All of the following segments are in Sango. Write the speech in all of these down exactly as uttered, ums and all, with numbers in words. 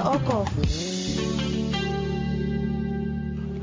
Oko.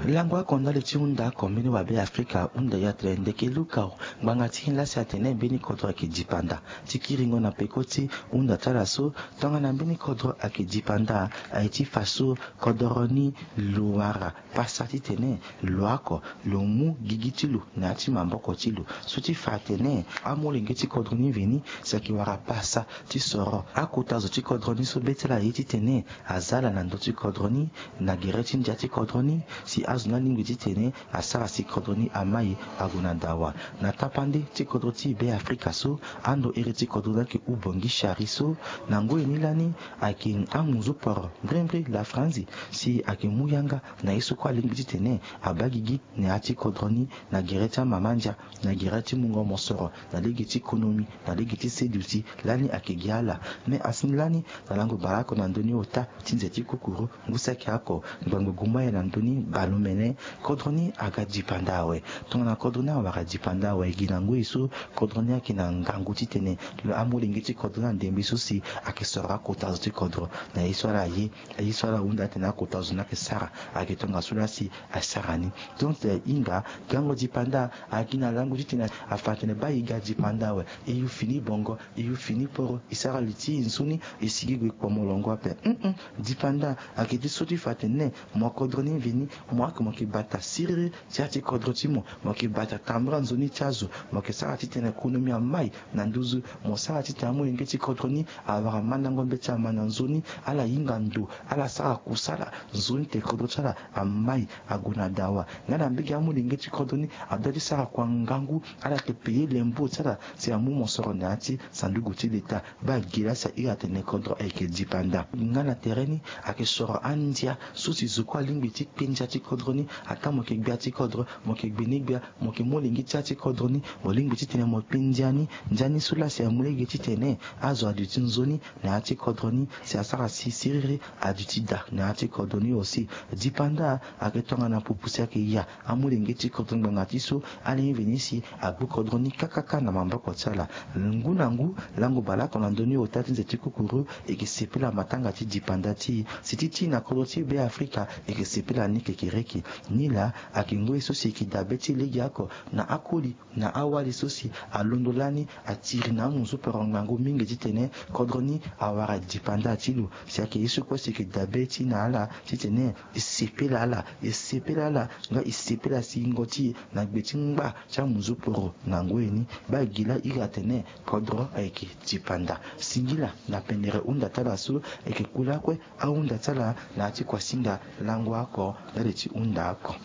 Lango oko ndali ti hunda oko mbeni wabe afrika hunda ya tene ndeke lukau. Ngbanga ti nyen lasi atene mbeni kodro ayeke dipanda? Ti kiringo na peko ti hunda ti ala so, tongana mbeni kodro ayeke dipanda, aye ti fa so kodro ni lo wara pasa titene lo oko lo mu gigi ti lo na ya ti maboko ti lo. So ti fa atene amolenge ti kodro ni veni si ayeke wara pasa ti soro akota zo ti kodro ni so be ti ala ye titene aza ala na ndö ti kodro ni, na gere ti ndia ti kodro ni, si azo ni alingbi titene asara si kodro ni amai ague na dawa. Na tapande ti kodro ti Beafrika so, ando iri ti kodro ni ayeke hubongi shari so, na ngoi ni lani ayeke amunzu poro mbrimbri la Franzi, si ayeke mu yanga na ye so kue alingbi titene abaa gigi na ya ti kodro ni, na gere ti amama ndia, na gere ti mungo mosoro, na lege ti konomi, na lege ti seduti, lani ayeke gi ala. Me asi ni lani, na lango baleoko na ndö ni ota ti nze ti kukuru, ngu saki oko ngbangbo gumaye na ndö ni baleomene, kodro ni aga dipanda awe. Tongana kodro ni awara dipanda awe, gi na ngoi so kodro ni ayeke na ngangu titene amolenge ti kodro ni andembe so si ayeke soro akota zo ti kodro na ye so ala ye, ye so ala hunda atene akota zo ni ayeke sara, ayeke tongaso lasi asara ni. Donc, eh, hinga gango dipanda agi na lango titene afa atene baa e ga dipanda awe, e yu fini bongo, e yu fini poro, e sara li ti e nzoni, e sigi gue kpo molongo ape. Mm-mm. Dipanda ayeke ti so ti fa atene mo kodro ni veni, mo ayeke mo yeke bata siriri ti ya ti kodro ti mo, mo yeke bata tambula nzoni ti azo, mo yeke sara titene konomi amai na nduzu, mo sara titene amolenge ti kodro ni awara mandango mbeti ama na nzoni, ala hinga ndo, ala sara kusala, nzoni tene kodro ti ala amai ague na dawa. Nga na mbage amolenge ti kodro ni adoit ti sara kua ngangu, ala yeke payer lembo ti ala si amu mosoro na ya ti sanduku ti leta. Baa gi lasi ahiri atene kodro ayeke dipanda. Nga na tere ni ayeke soro andia so si zo kue alingbi ti kpe ndia ti kodro ni. Ataa mo yeke gbia ti kodro, mo yeke gbeni gbia, mo yeke molenge ti ya ti kodro ni, mo lingbi titene mo kpe ndia ni. Ndia ni so lasi amu lege titene azo aduti nzoni na ya ti kodro ni, si asara si siriri aduti daa na ya ti kodro ni aussi. Dipanda ayeke tongana pupu si ayeke ya amolenge ti kodro ni ngbanga ti so, ala ye veni si agbu kodro ni kakaka na maboko ti ala. Ngu na ngu, lango baleoko na ndö ni ota ti nze ti kukuru, e yeke sepela matanga ti dipanda ti e. Si ti ti na kodro ti Beafrika, e yeke sepela ni kekereke. Nilaa ayeke ngoi so si e yeke dabe ti e legeoko na akoli na awali so si alondo lani atiri na amunzu poro ngangu mingi titene kodro ni awara dipanda ti lo. Si ayeke ye so kue si e yeke dabe ti e na ala titene e sepela ala, e sepela ala, nga e sepela singo ti e na gbe ti ngba ti amunzu poro na ngoi ni. Baa gi laa iri atene kodro ayeke dipanda. Singila na pendere hunda ti ala so, e yeke kula kue ahunda ti ala na ya ti kuasinga lango oko ndali ti hunda oko.